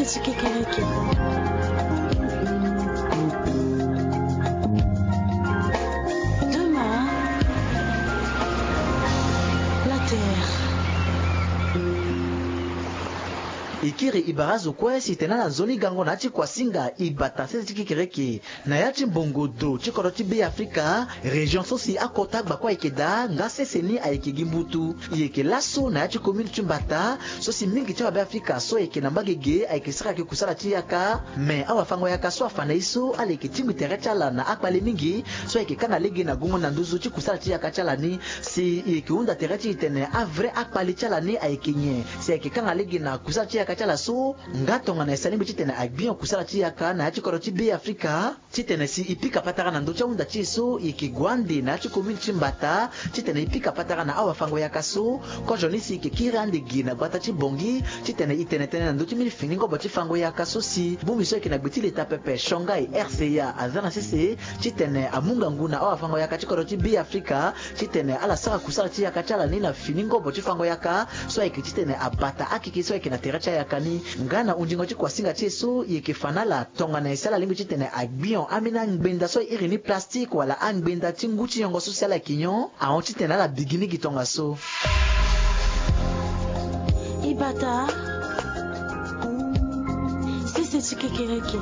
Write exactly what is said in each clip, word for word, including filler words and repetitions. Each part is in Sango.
Ti kekereke. Demain, la terre. E kiri e bara azo kue si e tene ala nzoni gango na ya ti kuasinga e bata sese ti kekereke. Na ya ti mbongo do ti kodro ti Be Afrika, région so si akota gbakua ayeke daa nga sese ni ayeke gi mbutu. E yeke laso na ya ti commune ti Mbata so si mingi ti awabe Afrika so ayeke na mbage ge ayeke sara yeke kusala ti yaka. Me awafango-yaka so afa na e so ala yeke tingbi tere ti ala na akpale mingi so ayeke kanga lege na gungo na nduzu ti kusala ti yaka ti ala ni. Si e yeke hunda tere ti e tene avrai akpale ti ala ni ayeke nyen? Si ayeke kanga lege na kusala ti yaka ti ala so? Nga tongana e sara lingbi titene agbion kusala ti yaka na ya ti kodro ti Be Afrika, titene si e pika patara na ndö ti ahunda ti e so e yeke gue ande na ya ti commune ti Mbata, titene e pika patara na awafango-yaka so. Kozo ni si e yeke kiri ande ge na gbata ti Bangui, titene e tene tënë na ndö ti mbeni fini ngobo ti fango-yaka so si bongbi so ayeke na gbe ti leta pepe Shanghai R C A aza na sese, titene amu ngangu na awafango-yaka ti kodro ti Be Afrika, titene ala sara kusala ti yaka ti ala ni na fini ngobo ti fango-yaka so ayeke titene abata akeke so ayeke na tere ti ayaka ni. Nga na hundingo ti kuasinga ti e so e yeke fa na ala tongana e si ala lingbi titene agbion ambeni angbenda so e iri ni plastique wala angbenda ti ngu ti nyongo so si ala yeke nyon ahon titene ala bigi ni gi tongaso. E bata sese ti kekereke.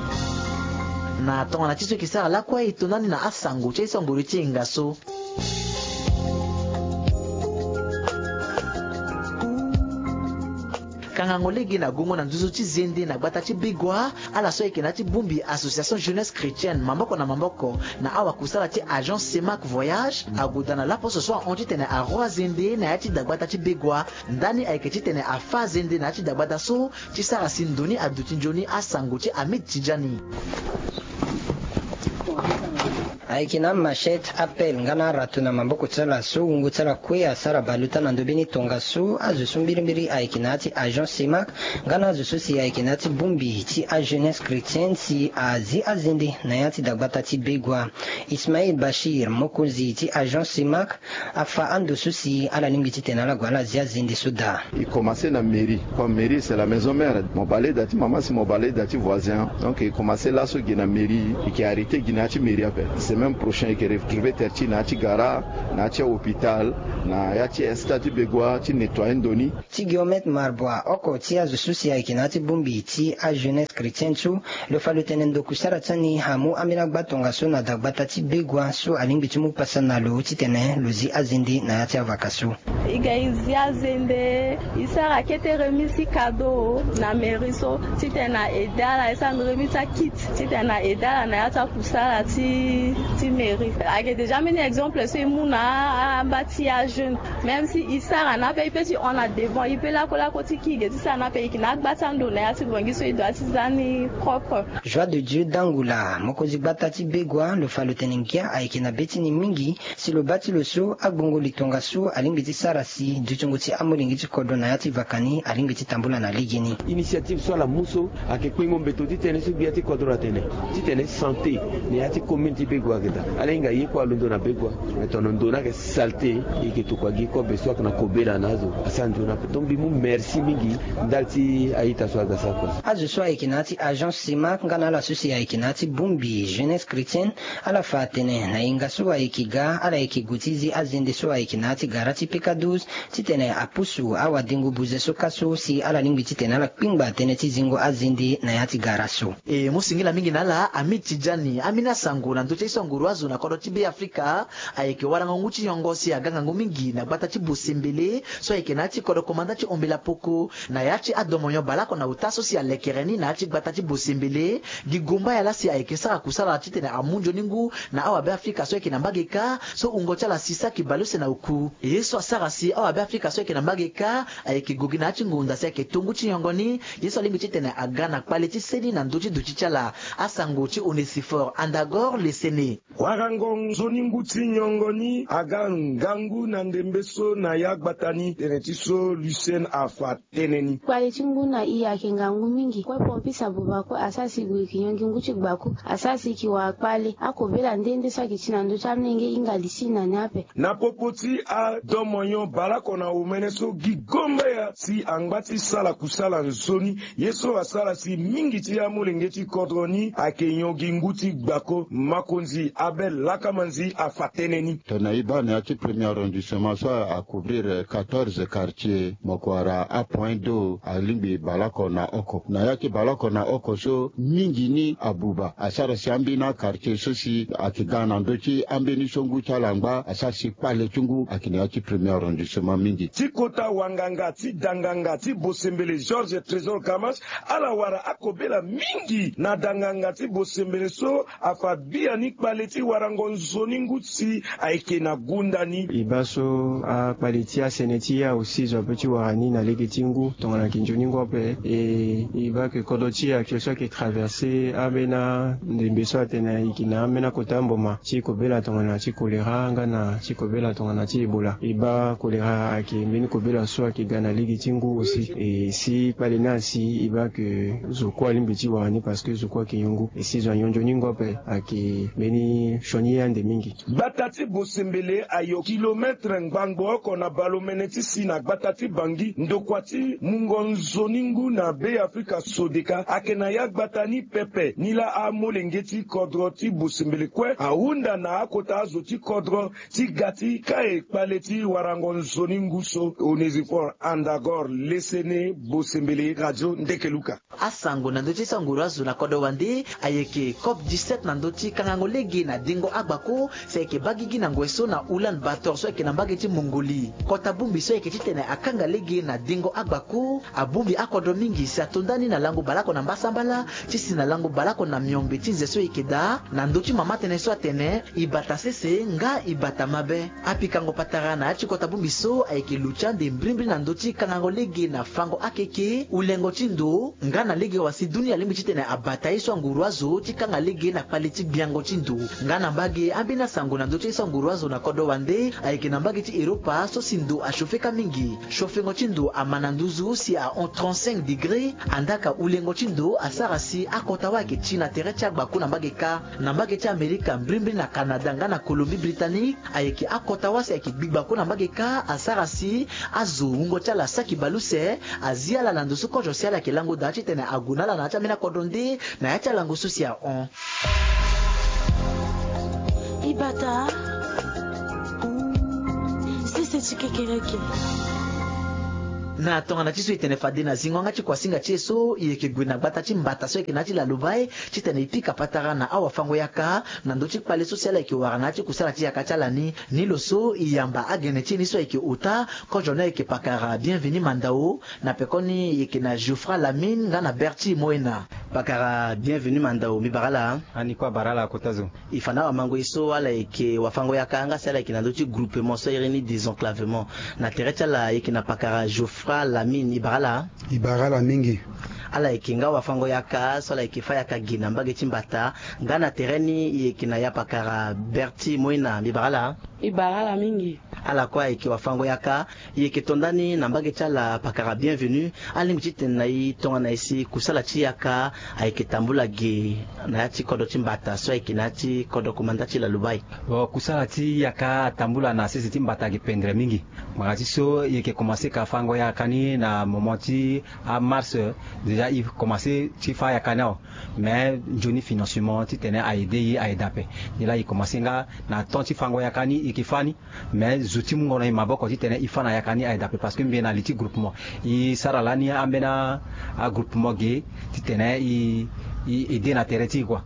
Na tongana ti so e yeke sara lakue e to ndani na asango ti aye so angoro ti e nga so. Kangango lege na gongo na nduzu ti zende na gbata ti Begoua, ala so ayeke na ya ti bongbi Association Jeunesse Chrétienne maboko na maboko na awakusala ti Agence Semac Voyage ague daa na laposo so ahon titene aroi azende na ya ti dagbata ti Begoua. Ndani ayeke titene afâ azende na ya ti dagbata so ti sara si ndo ni aduti nzoni asango ti Hamid Tidjani. Ayeke na amachette, apelle nga na arato na maboko ti ala so wungo ti ala kue asara bale ota na ndö mbeni tongaso. Azo so mbirimbiri ayeke na ya ti Agence Semac nga na azo so si ayeke na ya ti bongbi ti ajeunesse chrétienne si azi azende na ya ti dagbata ti Begoua. Ismail Bachir, mokonzi ti Agence Semac, afa ando so si ala lingbi titene ala gue ala zi azende so daa. E commencé na mairie, comme mairie c'est la maison mère. Mo bale da ti mama si mo bale da ti voisin. Donc e commencé laso gi na mairie, e yeke arrêté gi na ya ti mairie ape. Semaine prochaine e yeke retrouver terre ti na ya ti gara, na ya ti hôpital, na ya ti stade ti Begoua ti nettoyer ndo ni. Ti Guillaume Marbois, oko ti azo so si ayeke na ya ti bongbi ti ajeunesse chrétienne so, lo fa lo tene ndo kusara ti ani amu ambeni agba tongaso na dagbata ti Begoua so alingbi ti mu pasa na lo titene lo zi azende na ya ti avaka so. E ga e zi azende, e sara kete remise ti cadeau na mairie so titene na aidé ala, e sara remise ti akit titene na aidé ala na ya ti akusala ti, ti mairie. Ayeke déjà mbeni exemple so e mu na amba ti ajeune. Même si e sara na ape, e peut ti hon na devant, e peut lakolako ti kiri ge ti sara na ape, e yeke na agba ti ando na ya ti Bangui so e doit ti za ni propre. Joie de Dieu Dangula, mokonzi gbata ti Begoua, lo fa lo tene ngia ayeke na be ti ni mingi si lo baa ti lo so agbongo li tongaso alingbi ti sara si dutingo ti amolenge ti kodro na ya ti vaka ni alingbi ti tambula na legeni. Initiative so ala mu so ayeke kpengo mbeto ti tënë so gbia ti kodro atene titene santé na ya ti commune ti Begoua ayeke daa. Ala hinga ye kue alondo na Begoua, me tongana ndo ni ayeke saleté, e yeke tokua gi kobe so ayeke na kobela na azo asara nzoni ape. Donc mbi mu merci mingi ndali ti a-ita so aga sara kua. Azo so ayeke na ya ti Agence Semac nga na ala so si ayeke na ya ti bongbi Jeunesse Chrétienne, ala fa atene na hinga so ayeke ga, ala yeke gue ti zi azende so ayeke na ya ti gara ti P K douze titene apusu awadengo buze so kâ so si ala lingbi titene ala kpingba tënë ti zingo azende na ya ti gara so. E mu singila mingi na ala Hamid Tidjani. Ambeni asango na ndö ti aye so anguru azo na kodro ti Be Afrika. Ayeke warango ngu ti nyongo si aga ngangu mingi na gbata ti Bosembele so ayeke na ya ti kodro komanda ti Ombela Poko, na ya ti adomonyo baleoko na ota so si alekere ni na ya ti gbata ti Bosembele. Gi gomba ya laa si ayeke sara kusala titene amu nzoni ngu na awabe Afrika so ayeke na mbage kâ, so wungo ti ala si saki baleuse na oku. Ye so asara si awabe Afrika so ayeke na mbage kâ ayeke gue gi na ya ti ngonda si ayeke to ngu ti nyongo ni. Ye so alingbi titene aga na kpale ti seni na ndö ti duti ti ala. Asango ti Onesifore Andagor Lesene. Warango nzoni ngu ti nyongo ni aga ngangu na ndembe so na ya gbata ni. Tene ti so Lucien afa tënë ni. Kpale ti ngu na e ayeke ngangu mingi. Kue pompiste ababa kue asara si e gue e yeke nyongi ngu ti gbaku, asara si e yeke wara kpale. Akobela nde nde so ayeke ti na ndö ti amolenge e hinga li ti na ni ape. Na popo ti adomonyon baleoko na omene so gi gomba ya si angba ti sala kusala nzoni ye so asara si mingi ti amolenge ti kodro ni ayeke nyon gi ngu ti gbako. Makonzi Abel Lakamanzi afa tënë ni. Tongana e baa na ya ti premier arrondissement so a couvrir quatorze quartiers, mo ko wara apoint d'eau alingbi baleoko na oko. Na ya ti baleoko na oko so mingi ni abuba asara si ambeni aquartier so si ayeke ga na ndö ti ambeni so ngu ti ala angba asara si kpale ti ngu ayeke na ya ti premier arrondissement mingi. Ti kota wanganga ti danganga ti bosembele Georges Trésor Kamash, ala wara akobela mingi na danganga ti bosembele so afa biani kpale ti warango nzoni ngu si ayeke na gunda ni. E baa so akpale ti asene ti e aussi zo ape ti wara ni na lege ti ngu tongana ayeke nzoni ngu ape. E e baa ke kodro ti e ayeke so ayeke traverse ambeni andembe so atene ayeke na ambeni akota mboma ti kobela tongana ti kolera nga na ti kobela tongana ti ebola. E baa kolera ayeke mbeni kobela so ayeke ga na lege ti ngu aussi. E si kpale ni asi e baa ke zo kue alingbi ti wara ni parce que zo kue ayeke nyon ngu. E si zo anyon nzoni ngu ape ayeke mbeni sioni ye ande mingi. Gbata ti bosembele ayo kilometre ngbangbo oko na baleomene ti si na gbata ti Bangi ndokua ti mungo nzoni ngu na Be Afrika Sodeka ayeke na ya gbata ni pepe. Ni laa amolenge ti kodro ti bosembele kue ahunda na akota azo ti kodro ti ga ti kai kpale ti warango nzoni ngu so. Onésiphore Andagor, Lesene, Bosembele, Radio Ndekeluka. Asango na ndö ti so anguru azo na kodro wande ayeke COP dix-sept na ndö ti kangango lege na dengo agbako si ayeke baa gigi na ngoi so na Ulan Bator so ayeke na mbage ti Mongolie. Kota bongbi so ayeke titene akanga lege na dengo agbako abongbi akodro mingi si ato ndani na lango baleoko na mbasambala ti si na lango baleoko na miombe ti nze so e yeke daa na ndö ti mama tënë so atene e bata sese nga e bata mabe. Apikango patara na ya ti kota bongbi so ayeke lo ti ande mbrimbri na ndö ti kangango lege na fango akeke, ulengo ti ndo, nga na lege wa si dunia alingbi titene abata ye so anguru azo ti kanga lege na kpale ti gbiango ti ndo. Nga na mbage ambeni asango na ndö ti ye so anguru azo na kodro wande ayeke na mbage ti Europa so si ndo achauffe kâ mingi. Chauffengo ti ndo ama na nduzu si ahon trente-cinq degré. Andaa ka ulengo ti ndo asara si akota wâ ayeke ti na tere ti agbako na mbage kâ. Na mbage ti Amerika mbrimbri na Canada nga na Colombie Britannique ayeke akota wâ si ayeke gbi gbako na mbage kâ asara si azo wungo ti ala asaki baleuse. Azi ala na ndo so kozo si ala yeke lango daa titene ague na ala na ya ti ambeni akodro nde na ya ti alango so si ahon. E bata sese ti kekereke. Na tongana ti so e tene fade na zingo yanga ti kuasinga ti e so e yeke gue na gbata ti mbata so ayeke na ya ti Lalubai titene e pika patara na awafango-yaka na ndö ti kpale so si ala yeke wara na ya ti kusala ti yaka ti ala ni. Ni lo so e yamba agene ti e ni so ayeke ota kozo ni ayeke pakara Bienvenu Mandao. Na pekoni e yeke na Geoffroy Lamine nga na Berti Moena. Pakara Bienvenu Mandao, mbi bara ala. Ani kue abara ala kota zo. E fa na awamango ye so ala yeke wafango-yaka nga si ala yeke na ndö ti groupement so a iri ni désenclavement. Na tere ti ala e yeke na pakara Geoffroy Lamine, e bara ala. E bara ala mingi. Ala yeke nga wafango-yaka so ala yeke fâ yaka ge na mbage ti mbata. Nga na tere ni e yeke na ya pakara Berti Moena, mbi bara ala. E bara ala mingi. Ala kue ayeke wafango-yaka. E yeke to ndani na mbage ti ala pakara Bienvenu. Alingbi titene na e tongana e si kusala ti yaka ayeke tambula ge na ya ti kodro ti mbata so ayeke na ya ti kodro komanda ti Lalubai. Bon, kusala ti yaka atambula na sese ti mbata ayeke pendre mingi. Ngbanga ti so e yeke komanse ka fango yaka ni na moment ti amars. Déjà e komanse ti fâ yaka ni awe. Mais nzoni financement titene a aide e a aide ape. Nilaa e komanse nga na temps ti fango yaka ni e yeke fâ ni. Mais zo ti mungo na e maboko titene e fâ na yaka ni a aide ape parce que mbi na li ti groupement. E sara lani ambeni agroupement ge titene e e aide na tere ti e kua.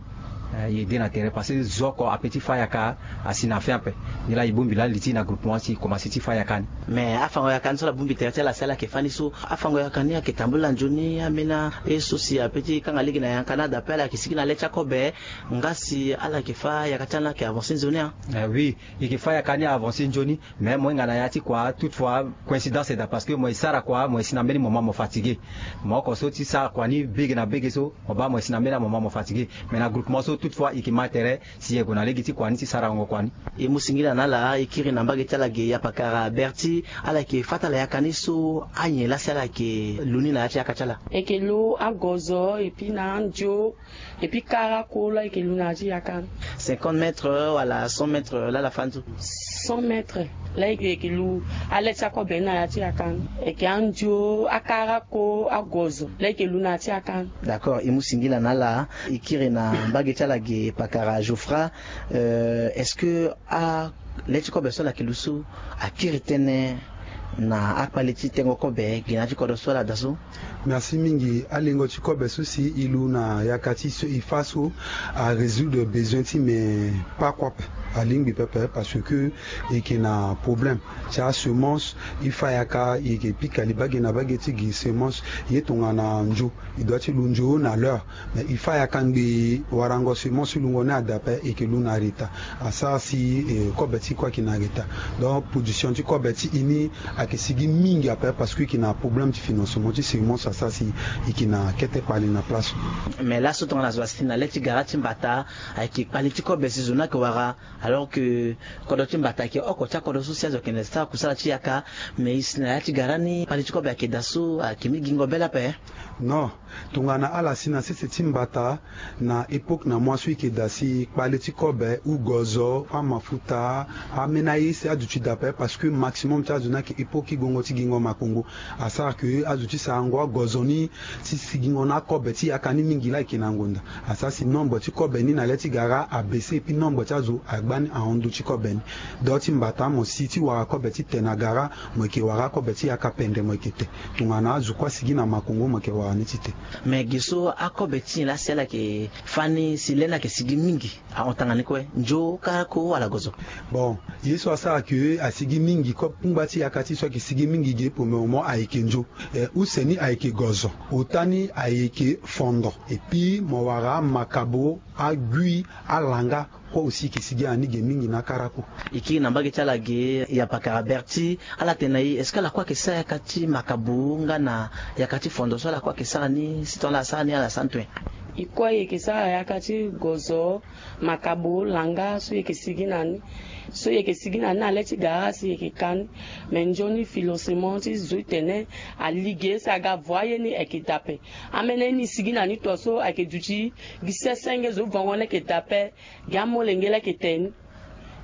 E aide na tere parce que zo oko ape ti fâ yaka asi na fin ape. Nilaa e bongbi lani li ti e na groupement si e komanse ti fâ yaka ni. Mais afango yaka ni so ala bongbi tere ti ala si ala yeke fâ ni so afango yaka ni ayeke tambula nzoni ambeni aye so si ape ti kanga lege na yaka ni adape ala yeke sigi na le ti akobe. Nga si ala yeke fâ yaka ti ala ni ayeke avanse nzoni. Oui, e yeke fâ yaka ni avanse nzoni. Mais mo hinga na ya ti kua toute fois coïncidence daa parce que mo e sara kua mo e si na mbeni moment mo fatigué. Mo oko so ti sara kua ni bege na bege so mo baa mo e si na mbeni amoment mo fatigué. Mais na groupement so toute fois e yeke ma tere si e gue na lege ti kua ni ti sara wungo kua ni. E mu singila na ala e kiri na mbage ti ala ge ya pakara Berti. Ala yeke fâ ti ala yaka ni so anyen laa si ala yeke lu ni na ya ti yaka ti ala. E yeke lu agozo et puis na andio. Et puis kara kue laa e yeke lu na ya ti yaka ni. Cinquante mètres wala cent mètres laa ala fâ ni so. Cent mètres. Laa e yeke lu ale ti akobe ni na ya ti yaka ni, e yeke andio akarako agozo laa e yeke lu na ya ti yaka ni. D'accord, e mu singila na ala. E kiri na mbage ti ala ge pakara Geoffroy. Euh, est-ce que a le ti kobe so ala yeke lu so akiri tënë na akpale ti tengo kobe gi na ya ti kodro so ala daa so? Merci mingi. Alingo ti kobe so si e lu na yaka ti so e fa so arésoudre besoin ti me, pas kue ape, alingbi pepe parce que e yeke na problème ti asemence. E fa yaka e yeke pika li bage na bage ti gi semence. Ye tongana ndio e doit ti lu ndio na l'heure. Mais e fa yaka ngbii warango semence ti lungo ni ada ape, e yeke lu na retard. Asara si eh, kobe ti e kue ayeke na retard. Donc production ti kobe ti e ni ayeke sigi mingi ape parce que e yeke na problème ti financement ti semence, asara si e yeke na kete kpale na place. Mais laso tongana zo asi na le ti gara ti mbata ayeke kpale ti kobe si zo ni ayeke wara, alors que kodro ti mbata ayeke oko ti akodro so si azo ayeke na sara kusala ti yaka. Mais e si na ya ti gara ni kpale ti kobe ayeke daa so ayeke mi gingo bele ape. Non, tongana ala si na sese ti mbata, na époque na mois so e yeke daa si kpale ti kobe, ou gozo, amafuta, ambeni aye si aduti daa ape parce que maximum ti azo ni ayeke époque ti gongo ti gingo makongo. Asara ke azo ti sarango agozo ni ti sigingo na akobe ti yaka ni mingi laa e yeke na ngonda. Asara si nombre ti kobe ni na le ti gara abaisse, et puis nombre ti azo agba ni ahon ndö ti kobe ni. Do ti mbata mo si ti wara kobe ti te na gara, mo yeke wara akobe ti yaka pendre mo yeke te. Tongana azo kue asigi na makongo mo yeke wara ni ti te. Mais ge so akobe ti nyen laa si ala yeke fâ ni si le ni ayeke sigi mingi ahon tanga ni kue, ndio karako wala gozo? Bon, ye so asara ke asigi mingi, kungba ti yaka ti e so ayeke sigi mingi ge pour le moment ayeke ndio. Eh, use ni ayeke gozo, ota ni ayeke fondo, et puis mo wara amakabo, agui, alanga kue aussi e yeke sigi na ni ge mingi na akarako. E kiri na mbage ti ala ge ya pakara Berti, ala tene na e, est-ce que ala kue ayeke sara yaka ti makabo nga na yaka ti fondo so ala kue ayeke sara ni, si tongana ala sara ni ala sara ni tuen? E kue e yeke sara yaka ti gozo, makabo, langa so e yeke sigi na ni. So e yeke sigi na ni na le ti gara si e yeke ka ni. Mais nzoni financement ti zo ti tene ali ge si aga vo aye ni ayeke daa ape. Ambeni aye ni e sigi na ni to so ayeke duti gi sese nge zo vango ni ayeke daa ape. Gi amolenge laa ayeke te ni.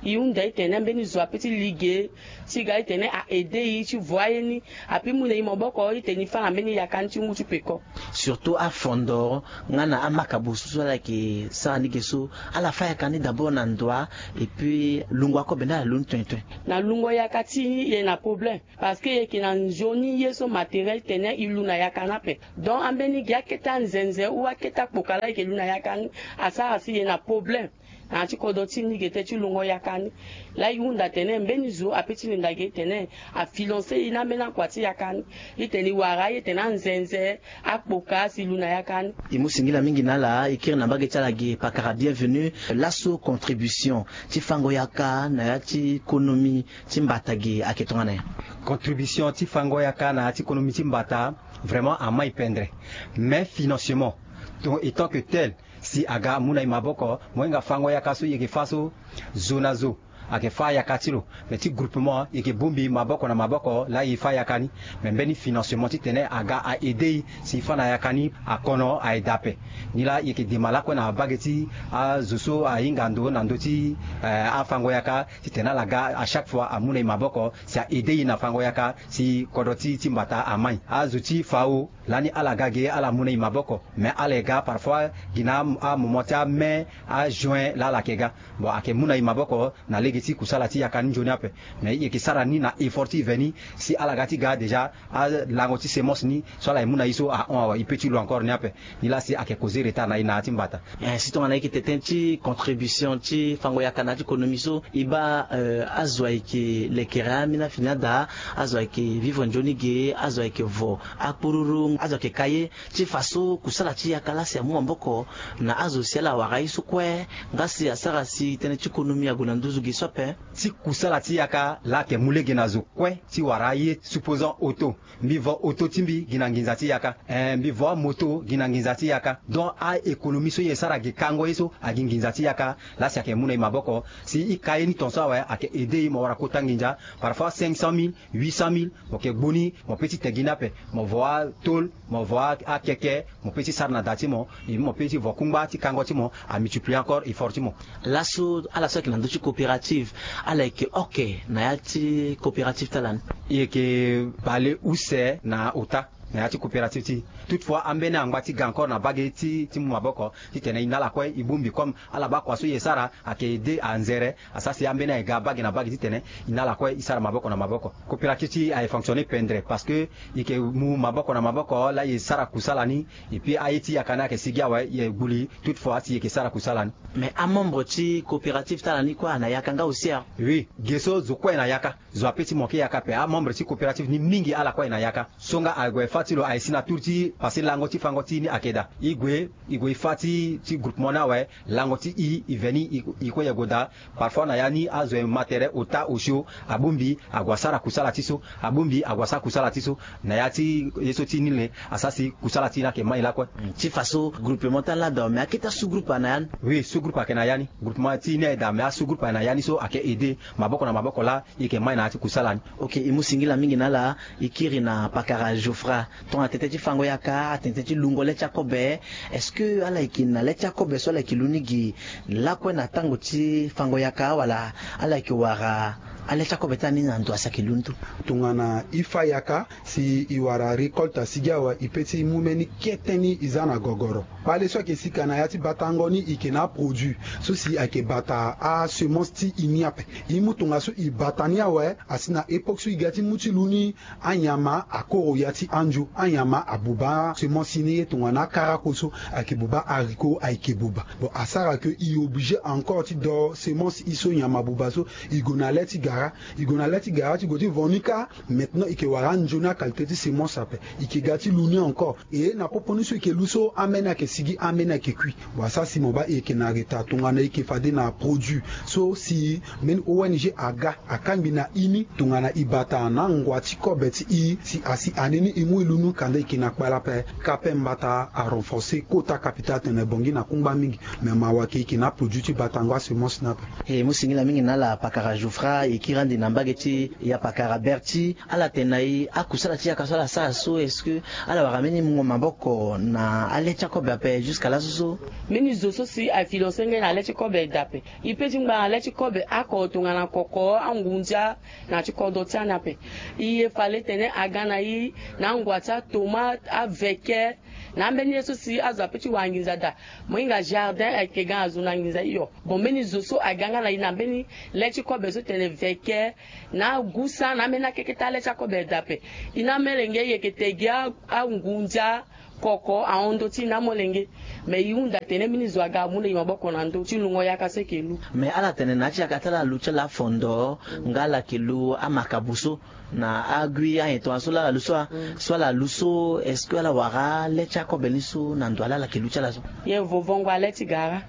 E hunda e tene mbeni zo ape ti li ge ti ga e tene a aide e ti vo aye ni. Ape e mu na e maboko e tene e fâ na mbeni yaka ni ti ngu ti peko. Surtout afondo nga na amakabo so so ala yeke sara ni ge so, ala fâ yaka ni d'abord na ndoa, et puis lungo akobe ni ala lu ni tuen tuen? Na lungo yaka ti e, e na problème. Parce que e yeke na nzoni ye so matériel ti tene e lu na yaka ni ape. Donc ambeni gi akete anzenze ou akete akpoka laa e yeke lu na yaka ni, asara si e na problème na ya ti kodro ti ni ge te ti lungo yaka ni. Laa e hunda tene mbeni zo ape ti linda ge e tene a financer e na ambeni akua ti yaka ni. E tene e wara aye tene anzenze, akpoka si e lu na yaka ni. E mu singila mingi na ala. E kiri na mbage ti ala ge pakara Bienvenu. Laso contribution ti fango yaka na ya ti konomi ti mbata ge ayeke tongana nyen? Contribution ti fango yaka na ya ti konomi ti mbata vraiment amai pendre. Mais financement, to, en tant que tel, si aga amu na e maboko, mo hinga fango yaka so e yeke fâ so, zo na zo ayeke fâ yaka ti lo. Mais ti groupement e yeke bongbi maboko na maboko laa e fâ yaka ni. Mais mbeni financement ti tene aga a aide e si e fâ na yaka ni akono aye daa ape. Ni laa e yeke dema lakue na bage ti azo so ahinga ndo na ndö ti eh, afango yaka, ti tene ala ga à chaque fois amu na e maboko si a aide e na fango yaka si kodro ti, ti mbata amai. Azo ti fao lani ala ga ge ala mu na e maboko, mais ala ye ga parfois gi na amoment ti ame, ajuin laa ala yeke ga. Bon, ayeke mu na e maboko na lege ti kusala ti yaka ni nzoni ape. Mais e yeke sara ni na effort ti e veni si ala ga ti ga déjà alango ti semence ni so ala ye mu na e so ahon awe, e peut ti lu encore ni ape. Ni laa si ayeke causer retard na e na ya ti mbata. Eh, si tongana e yeke tene tënë ti contribution ti fango yaka na ya ti konomi so, e baa eh, azo ayeke lekere ambeni afini ada, azo ayeke vivre nzoni ge, azo ayeke vo akpururu, azo ayeke ka ye. Ti fa so kusala ti yaka laa si amu maboko na azo si ala wara ye so kue, nga si asara si tënë ti konomi ague na nduzu ge so ape. Ti kusala ti yaka laa ayeke mu lege na zo kue ti wara aye, supposant auto. Mbi vo auto ti mbi gi na nginza ti yaka. Eh, mbi vo amoto gi na nginza ti yaka. Donc a-économie so e sara gi kango ye so agi nginza ti yaka. Laa si ayeke mu na e maboko si e ka ye ni tongaso awe, ayeke aide e mo wara kota nginza. Parfois cinq cent mille, huit cent mille, mo yeke gbu ni, mo peut ti te gi ni ape. Mo vo atôle, mo vo a, akeke, mo peut ti sara na da ti mo. Et mo peut ti vo kungba ti kango ti mo, amultiplier encore effort ti mo. Laso ala so ayeke na ndö ti coopérative, Ala yeke oke na ya ti coopérative ti ala ni? E yeke bale use na ota na ya ti coopérative ti e. Toutefois ambeni angba ti ga encore na mbage ti ti mu maboko titene e na ala kue e bongbi comme ala baa kua so e sara ayeke aide anzere. Asara si ambeni aye ga mbage na mbage titene e na ala kue e sara maboko na maboko. Coopérative ti e aye fonctionner pendere parce que e yeke mu maboko na maboko laa e sara kusala ni. Et puis aye ti yaka ni ayeke sigi awe, e gbu li. Toutefois si e yeke sara kusala ni. Mais amembre ti coopérative ti ala ni kue ana yaka nga aussi a? Oui, ge so zo kue na yaka. Zo ape ti mo ke yaka ape. Amembre ti coopérative ni mingi ala kue na yaka. So nga ague fa ti lo aye si na tour ti pase lango ti fango ti e ni ayeke daa. E gue e gue e fa ti ti groupement ni awe. Lango ti e e veni e kue e gue daa. Parfois na ya ni azo e ma tere ota osio. Abongbi ague asara kusala ti so. Abongbi ague asara kusala ti so. Na ya ti ye so ti ni le. Asara si kusala ti e ni ayeke mai lakue. Ti faso groupement ti ala daa mais akete asous groupe ana ya ni? Oui, sous groupe ayeke na ya ni. Groupement ti e ni aye daa mais asous groupe ayeke na ya ni so ayeke aide maboko na maboko laa e yeke mai na ya ti kusala ni. Ok, e mu singila mingi na ala. E kiri na pakara Geoffra. Tongana tete ti fango yaka atene tete ti lungo le ti akobe. Est-ce que ala yeke na le ti akobe so ala yeke lu ni gi lakue na tango ti fango yaka wala ala yeke wara ale ti akobe ti ala ni na ndo asi ayeke lu ni tu? Tongana e fa yaka si e wara récolte asigi awe e pe ti mu mbeni kete ni e za na gogoro. Kpale so ayeke sika na ya ti batango ni e yeke na aproduit so si ayeke bata asemence ti e ni ape. E mu tongaso e bata ni awe asi na époque so e ga ti mu ti lu ni. Anyama akoro ya ti andio. Anyama abuba semence ni ye tongana akarako so ayeke buba haricot ayeke buba. Bon asara ke e obligé encore ti do semence e so nyama abuba so. E gue na le ti gara. E gue na le ti gara ti gue ti vo ni kâ. Maintenant e yeke wara anzoni aqualité ti semence ape. E yeke ga ti lu ni encore. E na popo ni so e yeke lu so ambeni ayeke sigi ambeni ayeke kui. Bon asara si mo baa e yeke na retard tongana e yeke fade na produit so si mbeni O N G aga akangbi na e ni tongana e bata na angua ti kobe ti e si asi ane ni e mu e lu ni kanda e yeke na kpale ape. Kape mbata arenforcer kota capital atene bongi na kungba mingi. Mais mawa ke e yeke na aproduit ti batango asemence ni ape. E mu singila mingi na ala pakara Geoffra. E kiri ande na mbage ti ya pakara Berti. Ala tene na e akusala ti yaka so ala sara so est-ce que ala wara mbeni mungo maboko na ale ti akobe ape jusqu'à laso so? Mbeni zo so si afinance ngai na le ti kobe daa ape. E pe ti ngba na le ti kobe oko tongana koko angunza na ti kodro ti ani ape. E ye fade tene aga na e na angua ti atomate aveke na ambeni ye so si azo ape ti wara nginza daa. Mo hinga jardin ayeke ga na zo na nginza hio. Bon mbeni zo so aga nga na e na mbeni le ti kobe so tene veke na agusa na ambeni akeke ti ale ti akobe daa ape. E na amolenge e yeke te gi angunza koko ahon ndö ti e na amolenge. Mais e hunda tene mbeni zo aga amu na e maboko na ndö ti lungo yaka so e yeke lu. Mais ala tene na ya ti yaka ti ala alu ti ala afondo nga ala yeke lu amakabo so na agui ayen tongaso laa ala lu so. So ala lu so est-ce que ala wara le ti akobe ni so na ndo ala ala yeke lu ti ala so? Ye vo vongo ale ti gara.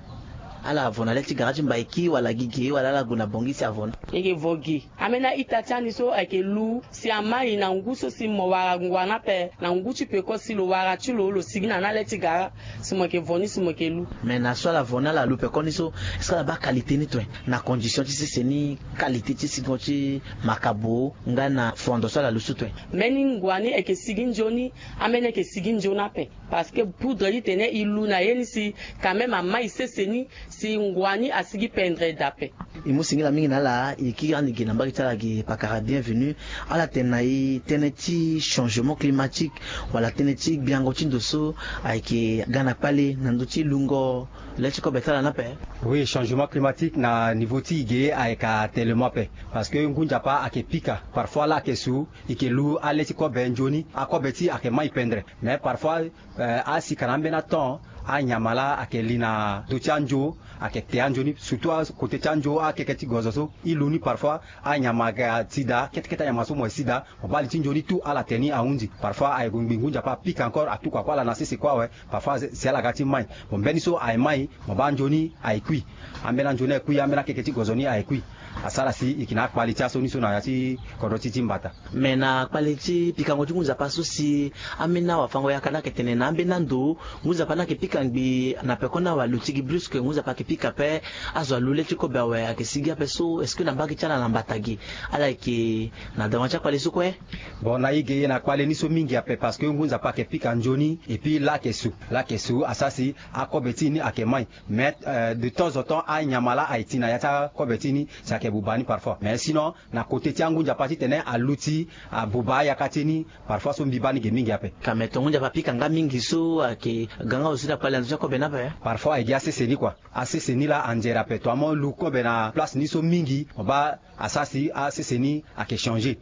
Ala vo na le ti gara ti mbaiki wala gi ge wala ala gue na bongi si avo ni? E yeke vo gi. Ambeni a-ita ti ani so ayeke lu si amai na ngu so si mo wara ngua ni ape na ngu ti peko si lo wara ti lo lo sigi na ni ale ti gara. Si mo yeke vo ni si mo yeke lu. Mais na so ala vo ni ala lu peko ni so est-ce que ala baa qualité ni tue? Na condition ti sese ni qualité ti singo ti makabo nga na fondo so ala lu so tue? Mbeni ngua ni ayeke sigi nzoni. Ambeni ayeke sigi nzoni ape. Parce que poudre ti tene e lu na ye ni si quand même amai sese ni si ngua ni asigi pendere daa ape. E mu singila mingi na ala. E kiri ande gi na mbage ti ala gi pakara Bienvenu. Ala tene na e tënë ti changement climatique wala tënë ti gbiango ti ndo so ayeke ga na kpale na ndö ti lungo le ti kobe ti ala ni ape? Oui, changement climatique na niveau ti e ge ayeke atene mo ape. Parce que ngu nzapa ayeke pika parfois laa ayeke su e yeke lu ale ti kobe nzoni akobe ti e ayeke mai pendere. Mais parfois asika na ambeni atemps anyama laa ayeke li na ndö ti anzo ayeke te anzoni surtout akote ti anzo akeke ti gozo so e lu ni parfois anyama aga ti daa kete kete anyama so mo ye si daa. Mo baa li ti nzoni tout ala te ni ahunzi parfois aye gue ngbi ngu nzapa apika encore atukua kue ala na sese kue awe. Parfois si ala ga ti mai mo mbeni so aye mai mo baa nzoni aye kui. Ambeni anzoni aye kui ambeni akeke ti gozo ni aye kui. Asara si e yeke na akpali ti aso ni so na ya ti kodro ti ti mbata. Me na kpale ti pikango ti ngu nzapa so si ambeni awafango-yaka ni ayeke tene na ambeni ando ngu nzapa ni ayeke pika ngbii na peko ni awe aluti gi brusque ngu nzapa ayeke Pika pe azo alu le ti kobe awe ayeke sigi ape so, est-ce que na mbage ti ala na mbata ge ala yeke na dawa ti akpale so kue? Bon, na e ge e na kpale ni so mingi ape parce que ngu nzapa ayeke pika nzoni. Et puis lake so, lake so asara si akobe ti e ni ayeke mai. Mais de temps en temps anyama laa aye ti na ya ti akobe ti e ni, si ayeke buba ni parfois. Mais sinon na kote ti angu nzapa titene aluti abuba ayaka ti e ni, parfois so mbi baa ni ge mingi ape. Ka me tongo nzapa apika nga mingi so ayeke ga nga aussi na kpale na ndö ti akobe ni ape. Parfois aye gi asese ni kua. Asese ni laa anzere ape to amu lu kobe na place ni so mingi mo baa asara si asese ni ayeke changer.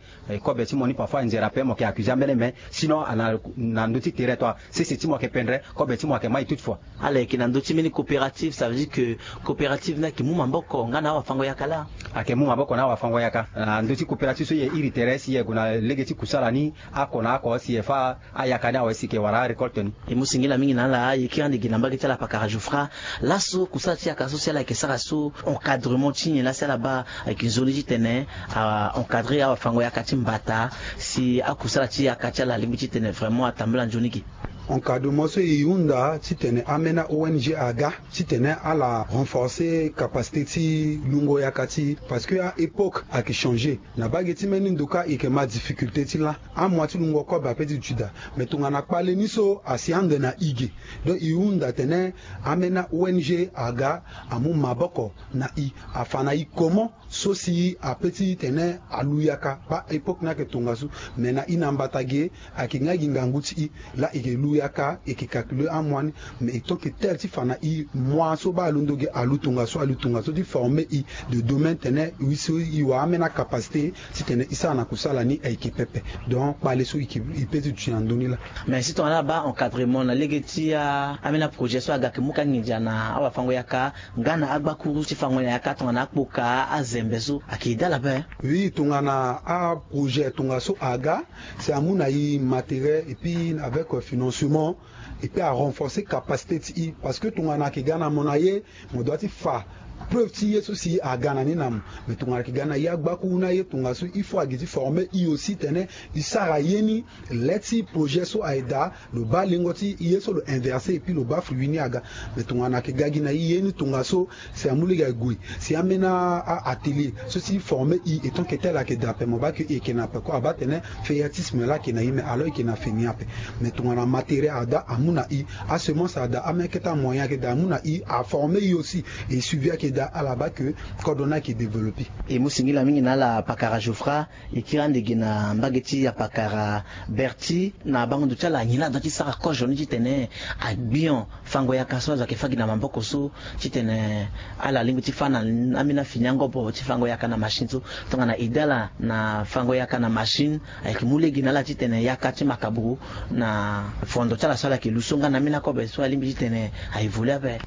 Kobe ti mo ni parfois anzere ape mo yeke accuse ambeni me. Sinon ana na ndö ti tere to asese ti mo ayeke pendre, kobe ti mo ayeke mai toute fois. Ala yeke na ndö ti mbeni coopérative, ça veut dire que coopérative ni ayeke mu maboko nga na awafango-yaka laa? Ayeke mu maboko na awafango-yaka na ndö ti coopérative so e iri tere si e gue na lege ti kusala ni, ako na ako si e fâ ayaka ni awe si e yeke wara arécolte ni. E mu singila mingi na ala. E kiri ande gi na mbage ti ala pakara Jouffra. Laso kusala ti yaka so si ala yeke sara so, encadrement ti nyen laa si ala baa ayeke nzoni titene a encadrer awafango-yaka ti mbata si akusala ti yaka ti ala alingbi titene vraiment atambula nzoni ge? Encadrement so e hunda titene ambeni a-O N G aga titene ala renforcer capacité ti lungo yaka ti e, parce que a-époque ayeke changer. Na mbage ti mbeni ndo kâ e yeke ma difficulté ti lâ. Amois ti lungo kobe ape ti duti daa. Mais tongana kpale ni so asi ande na e ge. Donc e hunda atene ambeni a-O N G aga amu maboko na e, afa na e comment so si ape titene alu yaka. Baa époque ni ayeke tongaso. Mais na e na mbata ge ayeke nga gi ngangu ti e laa e yeke lu yaka, e yeke calculer amois ni. Mais e tant que tel ti fa na e mois so baa alondo ge alu tongaso, alu tongaso ti former e de domaine tene e so e wara ambeni acapacité titene e sara na kusala ni ayeke pepe. Donc kpale so e yeke e pe ti duti na ndö ni laa. Mais si tongana ala baa encadrement na lege ti ambeni aprojet so aga ayeke mu ka nginza na awafango-yaka nga na agbakuru ti fango na yaka tongana akpoka azembe so ayeke daa ala ape. Oui, tongana aprojet tongaso aga si amu na e matériel et puis avec financement et puis arenforcer capacité ti e. Parce que tongana ayeke ga na mo na ye, mo doit ti fa preuve ti ye so si aga na ni na mo. Mais tongana ayeke ga na e agbakuru na ye tongaso il faut agi ti former e aussi tene e sara ye ni. Le ti projet so aye daa, lo baa lengo ti ye so lo inverser et puis lo baa fruit ni aga. Mais tongana ayeke ga gi na e ye ni tongaso si amu lege ague si ambeni a-atelier so ti former e, étant que tel ayeke daa ape, mo baa ke e yeke na ape ko, abaa tene fainéantisme laa ayeke na e, mais alors e yeke na fini ape. Mais tongana matériel adaa amu na e, asemence adaa, ambeni kete amoyen ayeke daa amu na e, aformer e aussi, e suivi ayeke daa, ala baa ke kodro ni ayeke développer. E mu singila mingi na ala pakara Jouffra. E kiri ande gi na mbage ti apakara Berti, na bango ndo ti ala nyen laa adoit ti sara kozo ni titene agbion fango yaka so azo ayeke fâ gi na maboko so titene ala lingbi ti fâ na ambeni afini angobo ti fango yaka na machine so. Tongana e daa ala na fango yaka na machine ayeke mu lege na ala titene yaka ti makabo na fondo ti ala so ala yeke lu so nga na ambeni akobe so alingbi titene a évoluer ape.